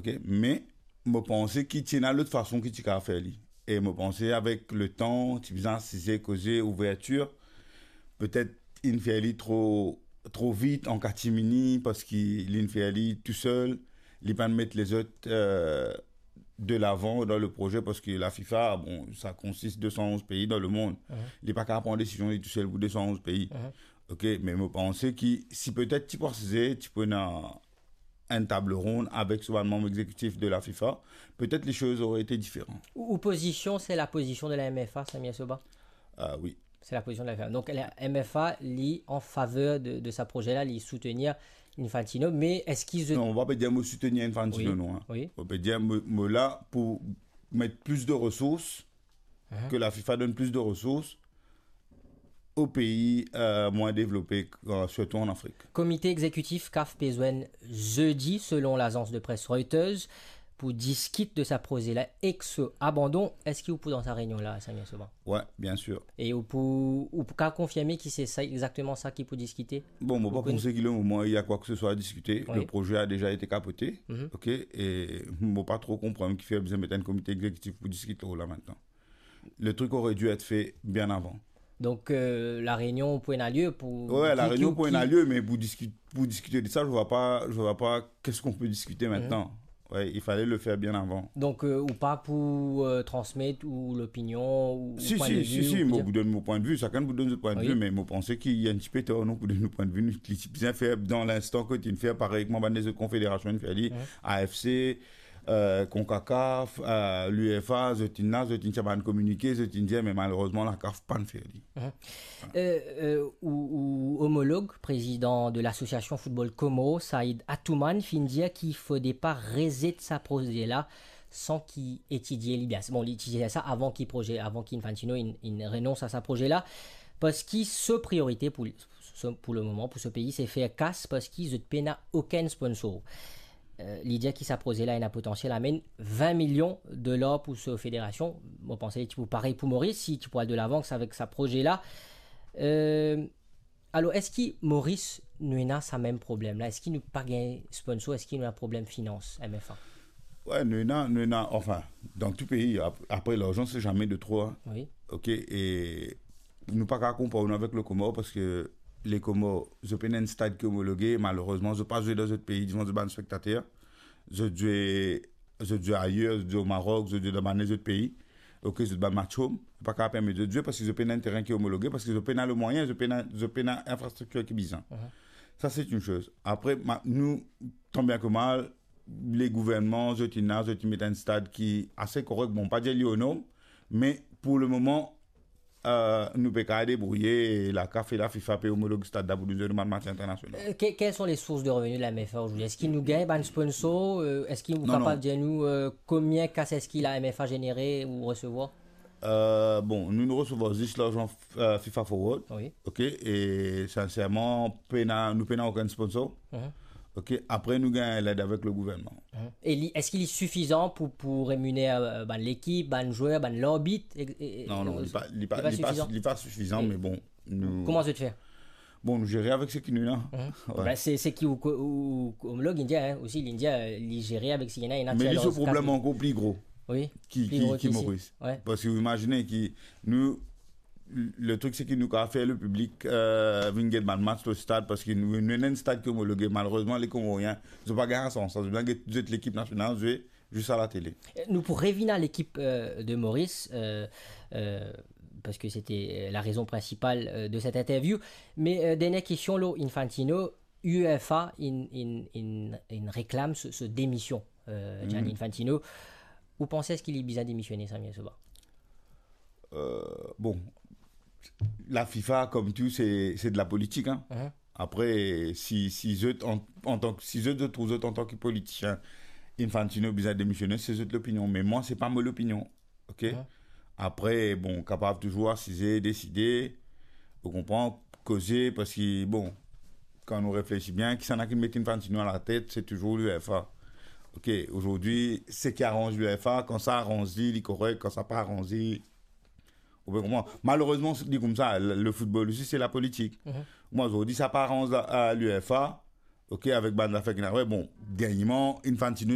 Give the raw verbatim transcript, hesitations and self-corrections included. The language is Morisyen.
Ok, me mo panse ki ti ena lot fason ki ti kapav fer li. E mo panse avek letan, ti bizin asize, koze, ouvertir, petet inn fer li tro, tro vit, an katimini, parski li'nn fer li tousel, li pa'nn met lezot, euh, de l'avant dans le projet, parski la FIFA, bon, sa konsist de san onz pei dan lemond. Mhm. Li pa kapav pran desizion li tousel pou de san onz pei. Mhm. Ok, me mo panse ki si petet ti pou asize, ti pou ena enn table ronde avek so bann manm exekitif de la FIFA, petet les choses auraient été différentes. Ou, ou pozision, se la pozision de la M F A, Samir Soba? Ah oui. Se la pozision de la M F A. Donk, la M F A, li an faver de, de sa proze la, li soutenir Infantino, me eski zot... Non, on va pas dire mo soutenir Infantino, wi, non, hein. Wi. On peut dire mo, mo la pou met plis de resours, mhm, ke la FIFA donn plis de resours o pei, euh, mwin devlope, euh, sirtou an Afrik. Komite exekitif CAF pe zwenn zedi, selon lazans de pres Reuters, pou diskit de sa proze la ek so abandon. Eski ou pou dan sa reynion la, Samir Soba? Wi, bien sir. E ou pou, ou pou kapav konfirme ki se sa, exakteman sa ki pou diskite? Bon, mo pa panse ki le moman il y a quoi que ce soit à discuter. Wi. Le projet a déjà été capoté. Mhm. Ok, e mo pa tro konpran kifer bizin met enn komite exekitif pou diskit lor la aster. Le truc aurait dû être fait bien avant. Donc, euh, la réunion pourrait avoir lieu pour... Ouais, la réunion pourrait avoir lieu, mais pour discuter, pour discuter de ça, je vois pas, je vois pas qu'est-ce qu'on peut discuter maintenant. Mhm. Ouais, il fallait le faire bien avant. Donc, euh, ou pa pou, euh, transmet ou lopinion, ou, si, ou pwin de vi, si, si, ou pou dir... Si, si, mo pou donn mo pwin de vi, sakenn pou donn so pwin de vi, wi, me mo panse ki enn tipe tor nou pou donn nou pwin de vi, nou, li ti bizin fer dan linstan kot inn fer parey kouma bann lezot konfederasion inn fer li, wi, A F C, euh, CONCACAF, euh, l'UEFA, zot inn la, zot inn tir bann kominike, zot inn dir, me malerezman, la CAF pa'nn fer li. Mhm. Euh, euh, ou, ou omolog, président de l'association Football Comores, Saïd Atoumane, finn dir ki fode pa rezet sa proze la san ki etidie li bien. Bon, li etidie sa avan ki proze, avan ki Infantino inn, inn renons a sa proze la, parski so priorite pou, so, pou le moman, pou so pei, se fer kas, parski zot pena okenn sponsor. Euh, li dir ki sa proze la ena potansiel amenn vin milion dolar pou so federasion. Mo panse li ti pou parey pou Moris, si ti pou al de lavan avek sa proze la. Euh, alor, eski Moris nou ena sa mem problem la? Eski nou pa gagn sponsor? Eski nou ena problem finans, M F A? Ouais, nou ena, nou ena, enfin, dan tou pei, ap-, apre, larzan, se zame de tro, hein. Wi. Ok, e nou pa kapav konpar nou avek le Komor, parski le Komor, zot pena enn stad ki omologe, malerezman, zot pa zwe dan zot pei, devan zot bann spektater. Zot zwe, zot zwe ayer, zot zwe o Marok, zot zwe dan bann lezot pei. Ok, zot bann match home, pa kapav permet zot zwe parski zot pena enn terin ki omologe, parski zot pena le mwayin, zot pena, zot pena infrastriktir ki bizin. Mhm. Sa, se enn soz. Apre, ma-, nou, tan bien ke mal, le gouvernman, zot inn la, zot inn met enn stad ki ase korek. Bon, pa dir li o norm, me pou le moman, euh, nou pe kapav debrouye, e la CAF e la FIFA pe omolog stad la pou nou zwe nou bann match internasional. Euh, que-, quelles sont les sources de revenus de la M F A aujourd'hui? Eski nou gagn bann sponsor? Euh, eski ou kapav dir nou, euh, konbien kas eski la M F A zenere ou resevwar? Euh, bon, nou, nou resevwar zis larzan, euh, FIFA Forward. Wi. Ok, e sinserman, pena, nou pena okenn sponsor. Mhm. Ok, apre nou gagn led avek le gouvernman. Mhm. E li, eski li sifizan pou, pou reminer, euh, bann lekip, bann zwer, bann larbit, e, e, e... Non, non, li pa, li pa, li pa sifizan. Li pa sifizan, me bon, nou... Kouma zot fer? Bon, nou zere avek seki nou ena. Mhm. Ouais. Ben, se, seki ou, ou, ou omolog, li dir, hein, osi, li dir, euh, li zere avek seki ena, ena... Me li, so problem ankor pli gro, wi, ki, pli gro ki, ki Moris. Ouais. Parski ou imazine ki nou, le trik, se ki nou kapav fer le piblik, euh, vinn get bann match lor stad, parski nou, nou ena enn stad ki omologe. Malerezman, le Komorien, zot pa gagn sa sans. Zot bizin get zot lekip nasional zwe zis a latele. Nou pou revinn a lekip, euh, de Moris, euh, euh, parski se te, euh, la rezon prinsipal, euh, de set interview. Me, euh, dernie kestion lor Infantino, UEFA inn, inn, inn, inn reklam so, so demision, euh, Gianni Infantino. Ou panse eski li bizin demisione, Samir Soba? Euh, bon, la FIFA, kom tou, se, se de la politik, hein. Mhm. Apre, si, si zot an, antan ki, si zot, zot trouv zot antan ki politisien, Infantino bizin demisione, se zot lopinion. Me mwa, se pa mo lopinion. Ok? Apre, bon, kapav touzour asize, deside, ou konpran, koze, parski, bon, kan nou reflesi bien, kisannla ki met Infantino alatet, se touzour l'UEFA. Ok, azordi, seki aranz l'UEFA, kan sa aranz li, li korek, kan sa pa aranz li, ou pe konpran. Malerezman, se li koumsa, le, le football osi, se la politik. Mwa, azordi, sa pa aranz la, a l'UEFA, ok, avek bann zafer ki ena, bon, dernieman, Infantino